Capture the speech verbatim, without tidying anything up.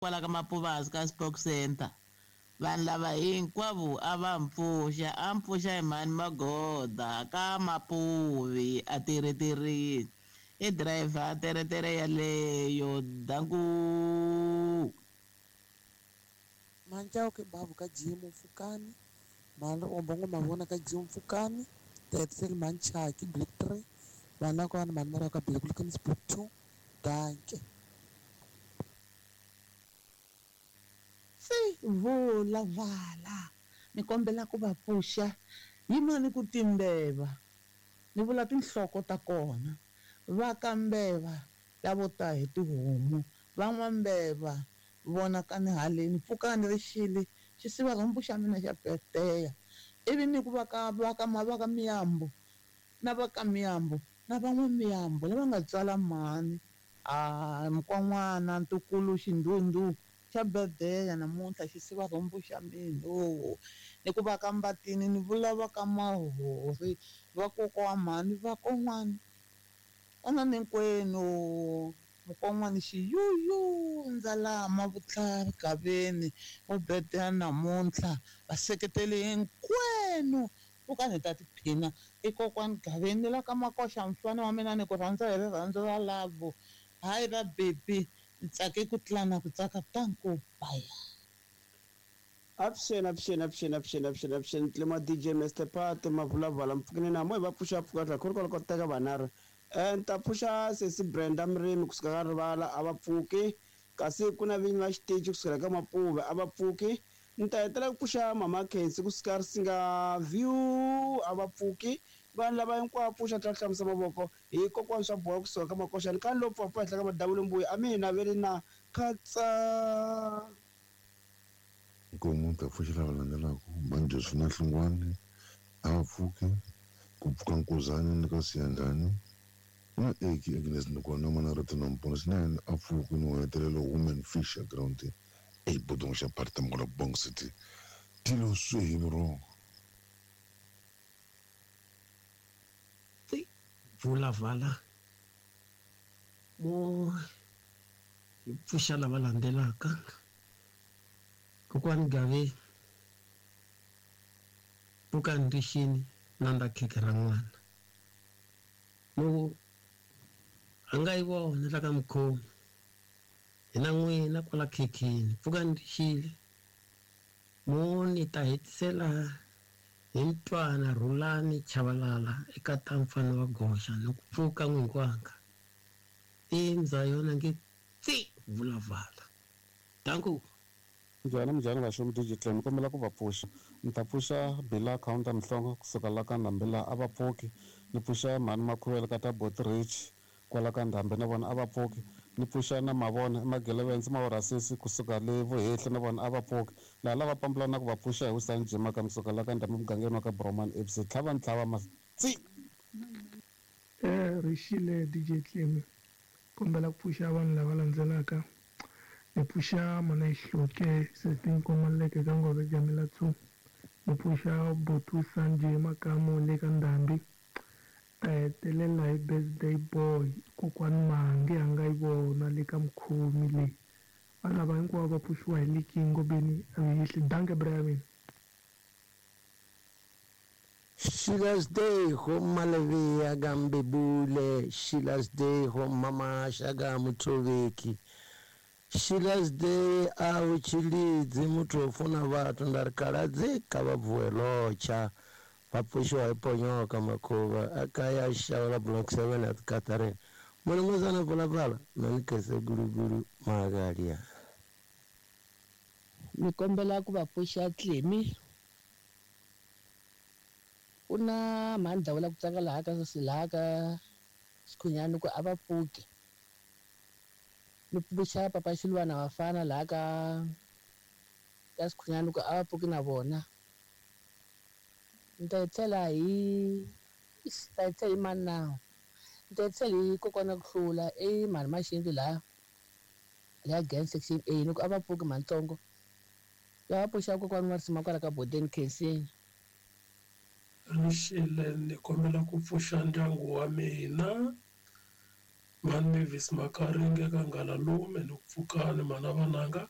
Kwala ka Mapuvazi ka Spoke Center. Vanhu lava hinkwavo a va mpfuxa, a mpfuxa hi mhani Magoda ka Mapuvi a tirhetirini. I driver teretere yaleyo danku. Manchauke babu ka Jim Mfukani, mhani Omba ngo mavona ka Jim Mfukani, Tetsel Manchaki Black three, vana kwana mhani ka Black Looking Sport two, danke. Se vula vala ni kombela ku va pfuxa yimani ku timbeva ni vula tinhloko ta kona va kambeva lavo ta hi tihomu van'wambeva vona ka ni haleni pfukani rixile xisiva rhumbu xa mina xa peteya ivi ni ku va ka va ka va ka miyambo na va ka miyambo na van'we miyambo lava nga tswala mhani a mukwan'wana ntukulu xindhundhu xa birthday namuntlha xisiva rhumbu xa mina o ni ku va ka Mbatini ni vula va ka Mahori va kokwa wa mhani va kon'wana ana hinkwenu mukon'wana xiyuyu ndzalama vutlhari gaveni o birthday namuntlha vaseketeli hinkwenu pfukani hi ta tiphina i kokwani gaveni la ka Makoxa mfana wa mina ni ku rhandza hi rirhandzu ra lavo hayi va baby ntsake ku tlana ku tsaka tanku baya. Avuxeni avuxeni avuxeni avuxeni avuxeni avuxeni tlema D J Mister Pat mavulavala mpfukeni na mo hi va pfuxa pfuka tlha khori ku teka vanharhu eh ni ta pfuxa sesi Brenda Mrimi kusuka ka Rivala a va pfuki kasi ku na vinyi va xitichi kusukela ka Mapuve a va pfuki ni ta hetela ku pfuxa mama Khensi kusuka Risinga View a va pfuki vanhu lava hinkwavo pfuxa tlhela hlamusa mavoko hi kokwana swa boha kusuka ka Makoxani ka lo pfapfa henhla ka madavula mbuya a mi naveli na khatsa. Nkomu ta pfuxa lava landzelaka mhani Josephine Hlungwani a va pfuki ku pfuka Nkuzani ni ka Siyandhani na Eki Agnes Ndukwana mana Rito na Mpona swinene a pfuki ni hetelela Women Fish ground e bodongo xa party mola Bong City tilo swe hi vurhongo. Vula vala mo hi pfuxa lava landzelaka kokwani Gave pfukani rixini nanda khekhe ra n'wana mo a nga yi vona la ka mukhomi hina n'wina kwala khekheni pfukani rixile mo ni ta hetisela hi ntwana Rhulani Chavalala eka ta mfana wa goxa ni ku pfuka n'winkwanga i ndza yona nge tsi vulavala danku. Njhani njhani vaxomi D J Clem ni kombela ku va pfuxa ni ta pfuxa Bila Counter Mhlongo kusuka la ka Ndhambi la a va pfuki ni pfuxa mhani Makhuvela ka ta Bot Rich kwala ka Ndhambi na vona a va pfuki ni pfuxa na Mavona Magelevense Mavorasisi kusuka le Vuhehli na vona a va pfuki laha lava pambulana ku va pfuxa hi Wisani Jima ka musuka la ka Ndhambi mugangeni wa ka Broman F C tlhava ni tlhava matsi. Eh rixile D J Clem kombela ku pfuxa vanhu lava landzelaka ni pfuxa mana Xihloke sesi Nkomaleke ka Ngove Jamela two ni pfuxa Botu Sanjay Makamu le ka Ndhambi ta hetelela hi birthday boy kokwani Mangi a nga yi vona le ka Mukhomi leyi vanhu lava hinkwavo va pfuxiwa hi Liki Ngobeni Avihli danke Brian. Sheila's Day ho Malevia Gambebule Sheila's Day ho Mama Shaga Mutroveki Sheila's Day a u tshilidzi muthu o funa vhathu nda ri kaladzi kha vha bvuwe lotsha vha pfushiwa hi ponyoka makhuvha a kaya xava block seven at Catherine mulumuzana pulapala manikese gulugulu magalia ni kombela ku va pfuxa Tlemi ku na mhani Dawula ku tsaka laha ka laha ka Xikhunyani ku a va pfuki ni pfuxa papa Xilwana vafana laha ka ka Xikhunyani ku a va pfuki na vona ni ta tlhela hi ta tlhela hi mani na ni ta tlhela hi kokwana ku hlula i mhani Maxindu laha laha gang section A ni ku a va pfuki mantsongo ya va pfuxa kokwana wa risima kwala ka Bodeni Khensini. Rixile ni kombela ku pfuxa ndyangu wa mina Mhani Mavis Makaringe ka Ngalalume ni ku pfukani mhana vananga.